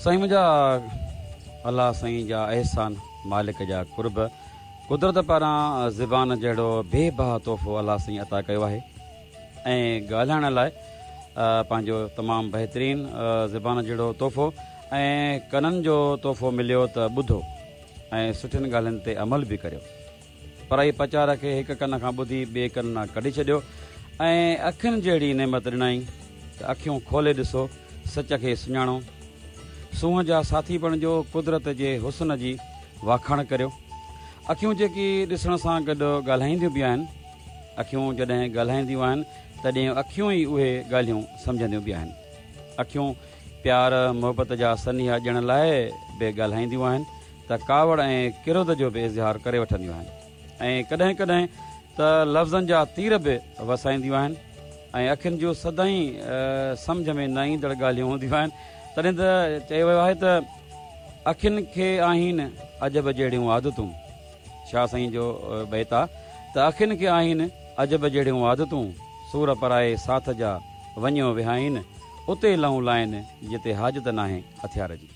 سائين منهنجا الله سائين جا احسان مالڪ جا قرب قدرت پاران زبان جهڙو بي بها تحفو الله سائين عطا ڪيو آهي ۽ ڳالهائڻ لاء پنهنجو تمام بهترين زبان جهڙو تحفو ۽ ڪنن جو تحفو مليو ته ٻڌو ۽ سٺين ڳالهين تي عمل به ڪريو. پرائي پچار کي هڪ ڪن کان ٻڌي ٻئي ڪن مان ڪڍي ڇڏيو ۽ اکين جهڙي نعمت ڏنائين ته اکيون کولي ڏسو، سچ کي سڃاڻو، سونهن جا ساٿي بڻجو، قدرت جي حسن جي واکاڻ ڪريو. اکيون جيڪي ڏسڻ سان گڏ ڳالهائينديون به آهن. اکيون جڏهن ڳالهائينديون آهن تڏهن اکيون ئي اهي ڳالهيون سمجهنديون به آهن. اکيون پيار محبت جا سنيها ڏيڻ لاء به ڳالهائينديون آهن ته ڪاوڙ ۽ ڪروڌ جو به اظهار ڪري وٺنديون آهن ۽ ڪڏهن ڪڏهن ته لفظن جا تير به وسائينديون آهن ۽ اکين جون سدائين سمجهه ۾ نه ايندڙ ڳالهيون هونديون آهن تڏهن ته چيو ويو آهي ته اکين کي آهين عجب جهڙيون عادتون شاهه سائين جو بيت آ ته اکين کي آهين عجب جهڙيون عادتون سور پرائي ساٿ جا وڃيو وهائين اتي لئون لائين جتي حاجت ناهي هٿيار جي.